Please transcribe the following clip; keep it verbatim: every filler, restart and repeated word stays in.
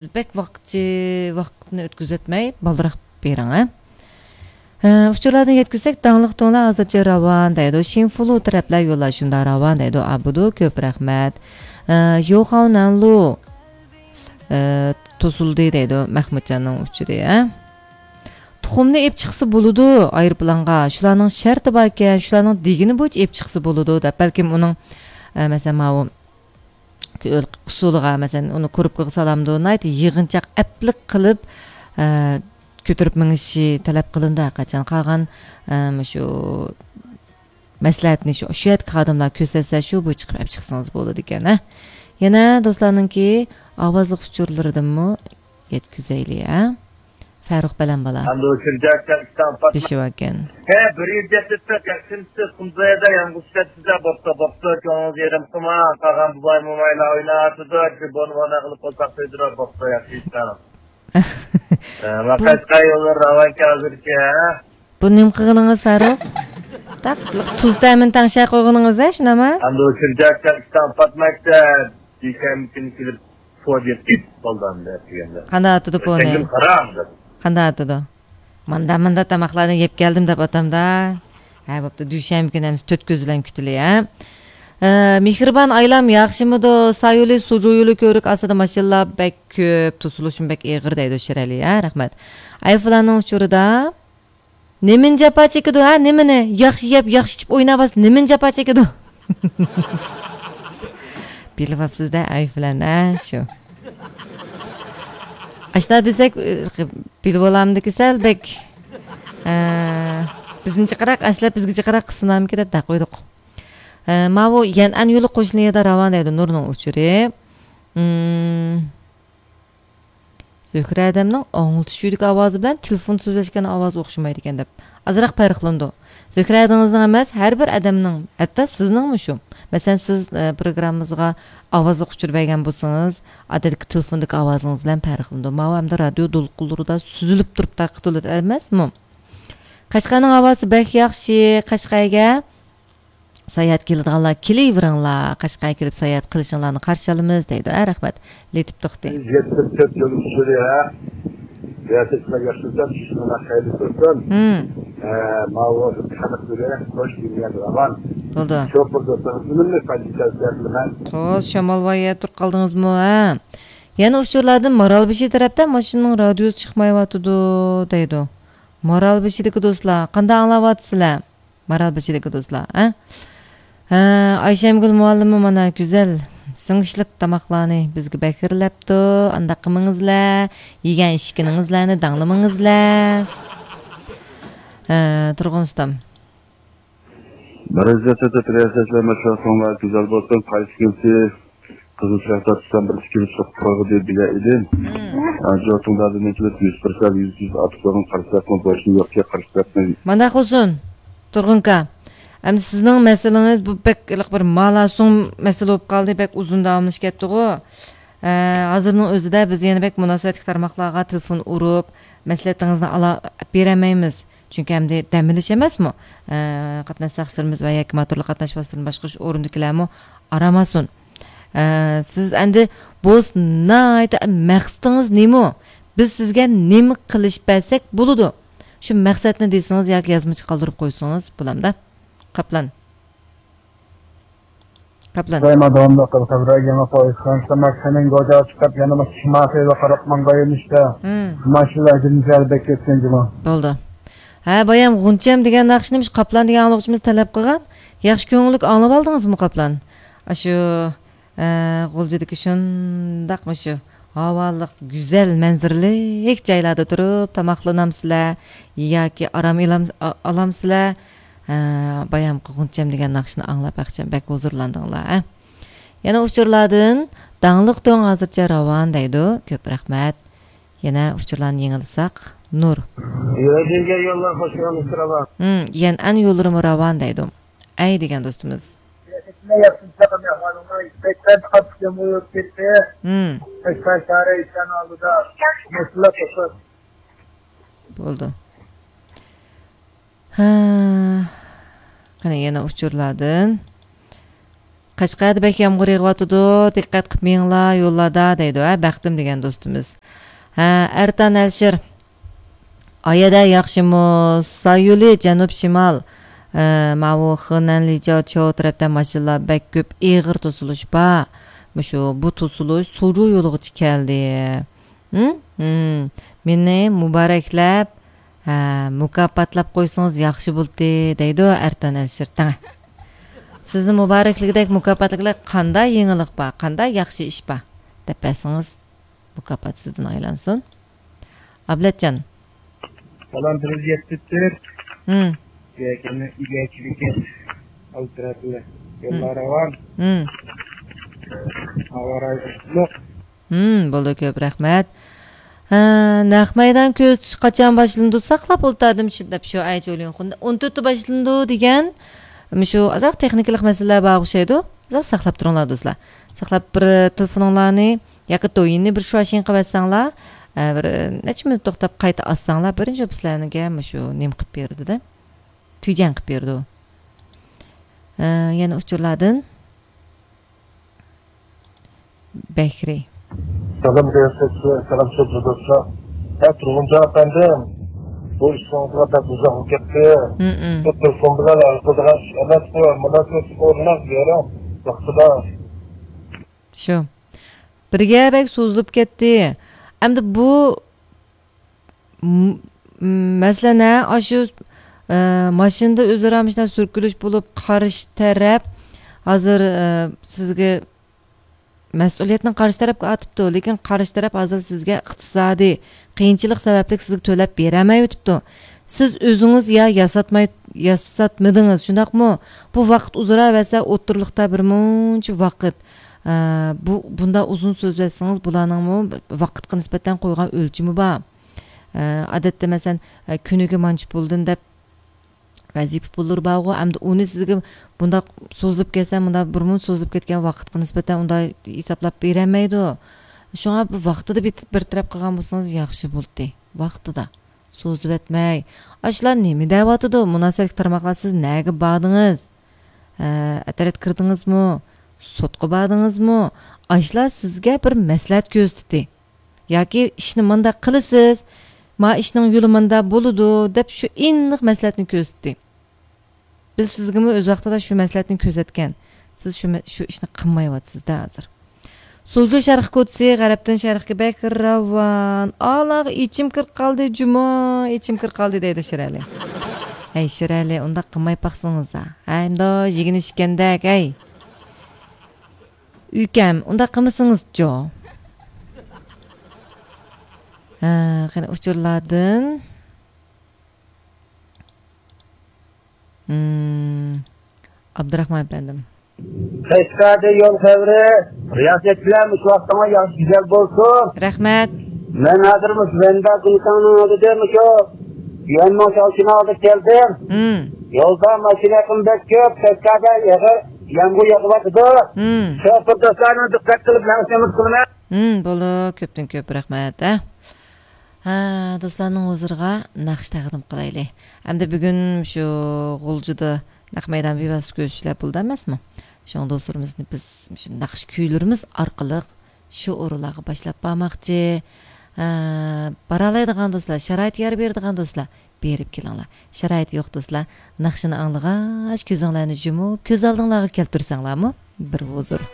بەك ۋاقىتچى، ۋاقىتنى ئۆتكۈزۈۋەتمەي، بالدۇراق بېرىڭ، ھە. ئە، ئۇچۇرلاردىن يەتكۈزسەك، داڭلىق تۇڭلار ھازىرچە راۋان دەيدۇ. شىنفۇلۇ تەرەپلەر يوللار شۇنداق راۋان دەيدۇ. ئابىدۇ، كۆپ رەھمەت. ئە، يوخاۋنەنلۇ، ئە، توسۇلدى دەيدۇ مەخمۇتجاننىڭ ئۇچۇرى، ھە. تۇخۇمنى ئېپ چىقسا بولىدۇ ئايروپىلانغا. شۇلارنىڭ شەرتى باركەن، شۇلارنىڭ دېگىنى بويىچە ئېپ چىقسا بولىدۇ دەپ. بەلكىم ئۇنىڭ، ئە، مەسىلەن، ماۋۇ ئۇسۇلىغا، مەسىلەن، ئۇنى كۇرۇپكىغا سالامدۇ، ناھايىتى يىغىنچاق ئەپلىك قىلىپ، ئە، كۆتۈرۈپ مېڭىشى تەلەپ قىلىنىدۇ ھەرقاچان. قالغان، ئە، مۇشۇ مەسلىھەتنى شۇ، شۇ يەردىكى خادىملار كۆرسەتسە، شۇ بويىچە چىقىپ ئەپ چىقسىڭىز بولىدىكەن، ھە. يەنە دوستلارنىڭكى ئاۋازلىق ئۇچۇرلىرىدىنمۇ يەتكۈزەيلى، ھە. فەرۇق بەلەن بالا. دېشىۋەكەن. ھە، بىر يىل گەپ ئۆتسە، تەقسىم تۇتۇپ، قۇمزايدا يالغۇز چۈشەتسىز-دە، بوپتۇ، بوپتۇ، كۆڭلىڭىز يېرىم قىلماڭ، قالغان بوۋاي-مومايلار ئويناۋاتىدۇ، شۇ بونۇ-بونا قىلىپ قويساق سۆيدۈرۈپ، بوپتۇ، ياخشى ئىشلەڭ. ھە، بۇ ماقەشقە يوللار راۋانكى ھازىركى، ھە؟ بۇ نېمە قىلغىنىڭىز، فاروق؟ تاق، تۇز تەمىنى تەڭشەپ قويغىنىڭىز، ھە، شۇنداقمۇ؟ ئەمدى ئۇ چۈرجەكتە ئىشتان پاتمايتتى، دۈشەنبە كۈنى كېلىپ، پو دېيىپ كېتىپ قالدى ئەمدى ئەتىگەندە. قانداق ئاتىدۇ پونى؟ ئەتەڭگىمۇ قارا ئەمدى. قانداق ئاتىدۇ؟ ماندا، ماندا تاماقلارنى يەپ كەلدىم دەپ ئاتامدا. ھە، بوپتۇ، دۈشەنبە كۈنى ئەمىسە تۆت كۆز بىلەن كۈتىلى، ھە؟ ئە، مېھرىبان ئايلام ياخشىمىدۇ؟ سايولى سۇجۇيولى كۆۋرۈك ئاستىدا ماشىنىلار بەك كۆپ، توسۇلۇشمۇ بەك ئېغىر دەيدۇ شىرئەلى، ھە، رەھمەت. ئايفلاننىڭ ئۇچۇرىدا نېمىنى جاپا چېكىدۇ، ھە، نېمىنى؟ ياخشى يەپ، ياخشى ئىچىپ ئويناۋاتسا نېمىنى جاپا چېكىدۇ؟ بىلىۋاپسىز-دە، ئايفلان، ھە، شۇ. ئاشۇنداق دېسەك، بىلىۋالامدىكى سەل بەك، ئە، بىزنى جىقراق ئەسلەپ، بىزگە جىقراق قىلسىنامىكى دەپ دەپ قويدۇق. ئە، ماۋۇ يەنئەن يولى قوشنا يەردە راۋان دەيدۇ نۇرنىڭ ئۇچۇرى. ئىم، زۆھرە ھەدەمنىڭ ئاڭلىتىش ئۆيىدىكى ئاۋازى بىلەن تېلېفون سۆزلەشكەن ئاۋازى ئوخشىمايدىكەن دەپ. ئازراق پەرقلىنىدۇ. زۆھرە ھەدىڭىزنىڭ ئەمەس، ھەر بىر ئادەمنىڭ، ھەتتا سىزنىڭمۇ شۇ. مەسىلەن، سىز، ئە، پروگراممىمىزغا ئاۋازلىق ئۇچۇر بەرگەن بولسىڭىز، ئادەتتىكى تېلېفوندىكى ئاۋازىڭىز بىلەن پەرقلىنىدۇ. ماۋۇ ئەمدى رادىيو دولقۇنلىرىدا سۈزۈلۈپ تۇرۇپ تارقىتىلىدۇ ئەمەسمۇ؟ قەشقەرنىڭ ھاۋاسى بەك ياخشى، قەشقەرگە ساياھەت كېلىدىغانلار كېلىۋېرىڭلار، قەشقەرگە كېلىپ ساياھەت قىلىشىڭلارنى قارشى ئالىمىز دەيدۇ. ھە، رەھمەت. لېتىپ توختى. يەتمىش تۆت يول ئۇچۇرى، ھە. رىياسەتچىلەر ياخشى بىلسەم، چۈشۈملەر خەيرلىك بولسۇن. ھە، ماۋۇ خەلق بىلەن خوش دۇنيا راۋان. بولدى. شوپۇر دوستلار، ئۈنۈملۈك پايدىسىز سۆزلىمەن. خوش، شامال ۋاي، تۇرۇپ قالدىڭىزمۇ، ھە؟ يەنە ئۇچۇرلاردىن مارالبېشى تەرەپتە ماشىنىنىڭ رادىيوسى چىقمايۋاتىدۇ، دەيدۇ. مارالبېشىدىكى دوستلار، قانداق ئاڭلاۋاتىسىلەر؟ مارالبېشىدىكى دوستلار، ھە؟ ھە، ئايشەمگۈل مۇئەللىممۇ مانا گۈزەل سىڭىشلىق تاماقلارنى بىزگە بەكرىلەپتۇ. ئانداق قىلمىڭىزلەر، يېگەن ئىچكىنىڭىزلەرنى داڭلىمىڭىزلەر. ھە، تۇرغۇن ئۇستام. بىرىنچى سەتەت رىياسەتچىلەر مەشۋەرىتىڭلار گۈزەل بولسۇن. قايسى كۈنسى قىزىل چىراغ تارتسام بىر ئىككى يىل چىقىپ قالغۇدى بىلە ئىدىم. مم. ئا، جوتۇڭدادىن ئېچىلىپ يۈز پىرسەنت، يۈز يۈز ئاتۇپ قويغان قارىساقمۇ بوشنى يوقكەن قارىساقنى. مانداق بولسۇن، تۇرغۇنكا. ئەمدى سىزنىڭ مەسىلىڭىز بۇ بەك ھېلىقى بىر مالاسۇڭ مەسىلە بولۇپ قالدى، بەك ئۇزۇن داۋاملىشىپ كەتتىغۇ. ئە، ھازىرنىڭ ئۆزىدە بىز يەنە بەك مۇناسىۋەتلىك تارماقلارغا تېلېفون ئۇرۇپ، مەسلىھەتىڭىزنى ئالا-، بېرەلمەيمىز. چۈنكى ئەمدى دەم ئېلىش ئەمەسمۇ؟ ئە، قاتناش ساقچىلىرىمىز ۋە ياكى موتورلۇق قاتناش ۋاسىتىلىرىنى باشقۇرۇش ئورنىدىكىلەرمۇ ئارام ئالسۇن. ئە، سىز ئەمدى بولسا ناھايىتى مەقسىتىڭىز نېمە؟ بىز سىزگە نېمە قىلىش بەرسەك بولىدۇ؟ شۇ مەقسەتنى دېسىڭىز ياكى يازمىچە قالدۇرۇپ قويسىڭىز بولامدا. قاپلان. قاپلان. سۇلايمان داۋاملىق قىل، خەۋەر يېڭى پويىز خانسىما كەنىڭ گوجا چىقىپ، يەنە مۇشۇ شىمال خېلىغا قاراپ ماڭغان يۆنىلىشتە. مم. ماشىنىلار جىنجال بەك كەتكەن جۇمۇ. بولدى. ھە، بايام غۇنچەم دېگەن ناخشىنى مۇشۇ قاپلان دېگەن ئاڭلىغۇچىمىز تەلەپ قىلغان. ياخشى كۆڭۈللۈك ئاڭلىۋالدىڭىزمۇ، قاپلان؟ ئاشۇ، ئە، غۇلجىدىكى شۇنداق مۇشۇ ھاۋالىق، گۈزەل مەنزىرىلىك جايلاردا تۇرۇپ تاماقلىنامسىلەر ياكى ئارام ئېلام-، ئا-، ئالامسىلەر؟ ھە، بايامقى غۇنچەم دېگەن ناخشىنى ئاڭلاپ بەخچەم بەك ھۇزۇرلاندىڭلار، ھە؟ يەنە ئۇچۇرلاردىن داڭلىق تۇڭ ھازىرچە راۋان دەيدۇ. كۆپ رەھمەت. يەنە ئۇچۇرلارنى يېڭىلىساق، نۇر. يۆجىنگە يوللار خوش يوللىسى راۋان. ھىم، يەنئەن يوللىرىمۇ راۋان دەيدۇ. ئەي دېگەن دوستىمىز. ھىم. بولدى. ھە، قېنى يەنە ئۇچۇرلاردىن. قەشقەردە بەك يامغۇر يېغىۋاتىدۇ، دىققەت قىلىپ مېڭىڭلار يوللاردا، دەيدۇ، ھە، بەختىم دېگەن دوستىمىز. ھە، ئەرتان ئەلشىر. ئايەدە ياخشىمۇ؟ سايولى جەنۇب شىمال. ئە، ماۋۇ خېنەن لىجياۋچياۋ تەرەپتە ماشىنىلار بەك كۆپ، ئېغىر توسۇلۇش بار. مۇشۇ، بۇ توسۇلۇش سۇجۇ يولىغىچە كەلدى. ھىم؟ ھىم. مېنى مۇبارەكلەپ، ھە، مۇكاپاتلاپ قويسىڭىز ياخشى بولتى، دەيدۇ ئەرتان ئەلشىر تەڭە. سىزنى مۇبارەكلىگۈدەك مۇكاپاتلىقلار قانداق يېڭىلىق بار، قانداق ياخشى ئىش بار دەپ بەرسىڭىز، مۇكاپات سىزدىن ئايلانسۇن. ئابلەتجان. بالام بىر يۈز يەتتە تۆت. ھىم. يەكەننى ئىگەچىلىكى ئالتىراتىلى. ھىم. يوللار راۋان. ھىم. ھاۋا رايى ئىسسىق. ھىم، بولدى، كۆپ رەھمەت. ھە، نەق مەيدان كۆرسىتىش قاچان باشلىنىدۇ؟ ساقلاپ ئولتۇردۇم شۇ دەپ شۇ ئەي جولىڭخۇن. ئون تۆتتە باشلىنىدۇ دېگەن. مۇشۇ ئازراق تېخنىكىلىق مەسىلىلەر بار ئوخشايدۇ. ئازراق ساقلاپ تۇرۇڭلار دوستلار. ساقلاپ بىر تېلېفونۇڭلارنى ياكى دويىننى بىر شۇاشىڭ قىلىۋەتسەڭلار، ئە، بىر نەچچە مىنۇت توختاپ قايتا ئاچساڭلار، بىرىنچى سىلەرگە مۇشۇ نېمە قىلىپ بېرىدۇ-دە. تۈجەڭ قىلىپ بېرىدۇ. ئە، يەنە ئۇچۇرلاردىن. بەكرى. سالام، سالام، سۆزلىدۇچى. ھە، تۇرغۇنجان ئەپەندىم، بۇ ئىشىڭىزغا بەك ئۇزاق بولۇپ كەتتى. ھىم. بۇ تېلېفون بىلەن ھەل قىلىدىغان ئىش ئەمەسقۇ، مۇناسىۋەتلىك ئورۇنلار بېرىڭ ۋاقتىدا. شۇ. بىرگە بەك سوزۇلۇپ كەتتى. ئەمدى بۇ م-، م-، مەسىلەن، ھە، ئاشۇ، ئە، ماشىنىدا ئۆزئارا مۇشۇنداق سۈركىلىش بولۇپ، قارشى تەرەپ ھازىر، ئە، سىزگە مەسئۇلىيەتنى قارشى تەرەپكە ئارتىپتۇ، لېكىن قارشى تەرەپ ھازىر سىزگە ئىقتىسادىي قىيىنچىلىق سەۋەبلىك سىزگە تۆلەپ بېرەلمەيۋېتىپتۇ. سىز ئۆزىڭىز يا ياساتماي، ياساتمىدىڭىز، شۇنداقمۇ؟ بۇ ۋاقىت ئۇزىراۋەرسە، ئوتتۇرىلىقتا بىر مۇنچە ۋاقىت، ئە، بۇ، بۇنداق ئۇزۇن سۆزلەشسىڭىز، بۇلارنىڭمۇ ۋاقىتقا نىسبەتەن قويغان ئۆلچىمى بار. ئە، ئادەتتە، مەسىلەن، ئە، كۈنىگە مانچە پۇلدىن دەپ ۋەزىپە پۇللىرى بارغۇ، ئەمدى ئۇنى سىزگە بۇنداق سوزۇلۇپ كەتسە، مۇنداق بىر مۇنچە سوزۇلۇپ كەتكەن ۋاقىتقا نىسبەتەن ئۇنداق ھېسابلاپ بېرەلمەيدۇ. شۇڭا بۇ ۋاقتىدا بىتىپ بىر تەرەپ قىلغان بولسىڭىز ياخشى بولاتتى. ۋاقتىدا. سوزۇۋەتمەي. ئاشۇلار نېمە دەۋاتىدۇ؟ مۇناسىۋەتلىك تارماقلار، سىز نەگە باردىڭىز؟ ئە، ئەترەت كىردىڭىزمۇ؟ سوتقا باردىڭىزمۇ؟ ئاشۇلار سىزگە بىر مەسلىھەت كۆرسىتىدۇ. ياكى ئىشنى مانداق قىلىسىز، ما ئىشنىڭ يولى مانداق بولىدۇ، دەپ شۇ ئېنىق مەسلىھەتنى كۆرسىتىدۇ. بىز سىزگىمۇ ئۆز ۋاقتىدا شۇ مەسلىھەتنى كۆرسەتكەن. سىز شۇ مە-، شۇ ئىشنى قىلمايۋاتىسىز-دە ھازىر. سوجۇ شەرق كوچىسى غەربتىن شەرققە بەك راۋان. ئالاغ، ئىچىم كىرىپ قالدى، جۇمۇ، ئىچىم كىرىپ قالدى دەيدۇ شىرئەلى. ھەي شىرئەلى، ئۇنداق قىلماي باقسىڭىزا. ھەي، ئۇنداق يېگىنى ئىچكەندەك، ھەي. ئۈكەم، ئۇنداق قىلمىسىڭىزچۇ؟ ھە، قېنى ئۇچۇرلاردىن. ھىم، ئابدۇراخمان ئەپەندىم. قەشقەردە يول خەۋىرى. رىياسەتچىلەر، مۇشۇ ۋاقتىڭلار ياخشى گۈزەل بولسۇن. رەھمەت. مەن ھازىر مۇشۇ ۋەندا گۇڭتاڭنىڭ ئالدىدا، مۇشۇ يۈەنمىڭ شاۋشىنىڭ ئالدىغا كەلدىم. ھىم. يولدا ماشىنا ئېقىمى بەك كۆپ، قەشقەردە ئېغىر يامغۇر يېغىۋاتىدۇ. ھىم. شوپۇر دوستلارنىڭ دىققەت قىلىپ مېڭىشىنى ئۈمىد قىلىمەن. ھىم، بولدى، كۆپتىن كۆپ رەھمەت، ھە. ھە، دوستلارنىڭ ھۇزۇرىغا ناخشا تەقدىم قىلايلى. ئەمدى بۈگۈن شۇ غۇلجىدا نەق مەيدان بىۋاسىتە كۆرۈشۈشلەر بولدى ئەمەسمۇ؟ شۇڭا دوستلىرىمىزنى بىز شۇ ناخشا كۈيلىرىمىز ئارقىلىق شۇ ئورۇنلارغا باشلاپ بارماقچى. ھە، بارالايدىغان دوستلار، شارائىت يار بېرىدىغان دوستلار، بېرىپ كېلىڭلار. شارائىت يوق دوستلار، ناخشىنى ئاڭلىغاچ كۆزۈڭلارنى يۇمۇپ، كۆز ئالدىڭلارغا كەلتۈرسەڭلارمۇ بىر ھۇزۇر.